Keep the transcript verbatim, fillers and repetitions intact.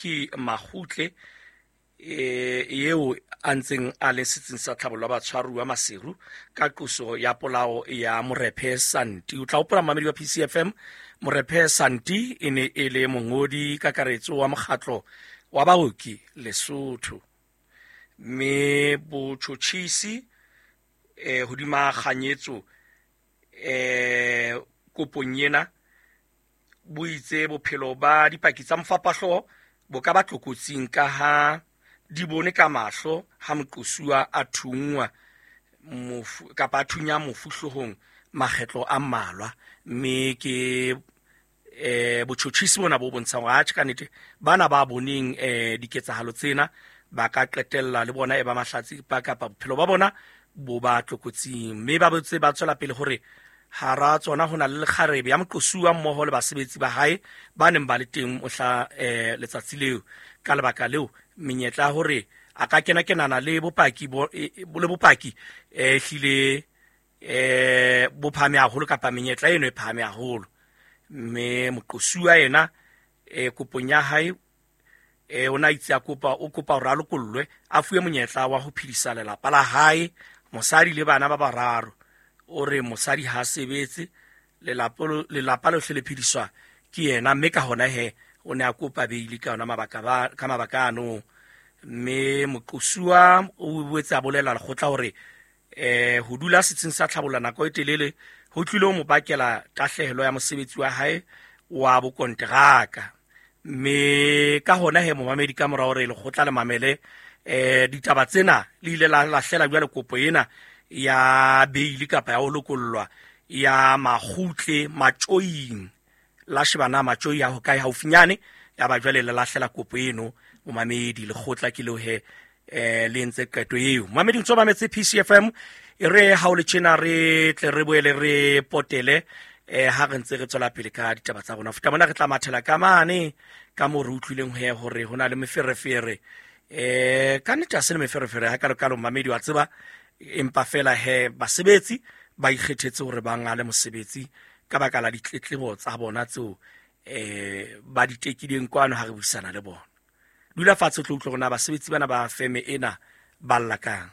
Ke Makgutle eh eo a ntseng a le setsing sa tlhabollo ya batshwaruwa Maseru ka qoso ya polao ya Morephe Santi. O tla hopola, mamedi wa P C F M, Morephe Santi e ne e le mongodi kakaretso wa mokgatlo wa baoki Lesotho, mme botjhotjhisi eh hodima kganyetso eh kopong ena bo itse bophelo ba dipaki tsa mofapahloho bo ka ba tlokotsing ka ha di bone ka mahlo ha moqosuwa a thunngwa mofu kapa a thunya mofu hloohong makgetlo a mmalwa. Mme ke eh botjhotjhisi bona bo bontshang hore atjhe, ka nnete bana ba boneng eh diketsahalo tsena ba ka qetella le bona e ba mahlatsi ba kapa bophelo ba bona bo ba tlokotsing. Mme ba botse ba tswela pele hore hara tsona ho na le lekgarebe ya moqosuwa mmoho le basebetsi ba hae ba neng ba le teng mohla eh, letsatsi leo. Ka lebaka leo, menyetla ya hore a ka kena kenana le bopaki bo, e, e, le bopaki eh hlile eh bo phahame haholo kapa menyetla eno e phahame haholo. Mme moqosuwa yena eh kopong ya hae eh o na itse a kopa o kopa hore a lokollwe, a fuwe monyetla wa ho phedisa lelapa la hae, mosadi le bana ba bararo. O re mosadi ha sebetse, lelapa lelapa lohle le phediswa ke yena, mme ka hona he o ne a kopa beili ka yona mabaka ba ka mabaka ano. Mme moqosuwa o boetse a bolela lekgotla hore eh ho dula setsing sa tlhabollo nako e telele ho tlile ho mo bakela tahlehelo ya mosebetsi wa hae wa bokonteraka. Mme ka hona he, momamedi, ka mora hore lekgotla le mamele eh ditaba tsena, le ile la lahlela jwale kopo ena ya beili kapa ya ho lokollwa ya Makgutle Matjoing. La shebana Matjoi ya hokae haufinyane, ya ba jwale le lahlela kopo eno. Momamedi, lekgotla ke leo he eh le entse qeto eo. Momamedi, ntso mametse P C F M. E re ha o le tjena re tle re boele re potele eh ha re ntse re tswela pele ka ditaba tsa rona. Futa mona re tla mathela ka mane ka moo re utlwileng he hore ho na le meferefere. eh ka nnete ha se le meferefere ha kalo kalo, mamedi, wa tseba, empa fela he basebetsi ba ikgethetse hore ba ngale mosebetsi ka baka la ditletlebo tsa bona tseo eh ba di tekileng kwano ha re buisana le bona. Dula fatshe o tlo utlwa hore na basebetsi bana ba feme ena ba lla kang.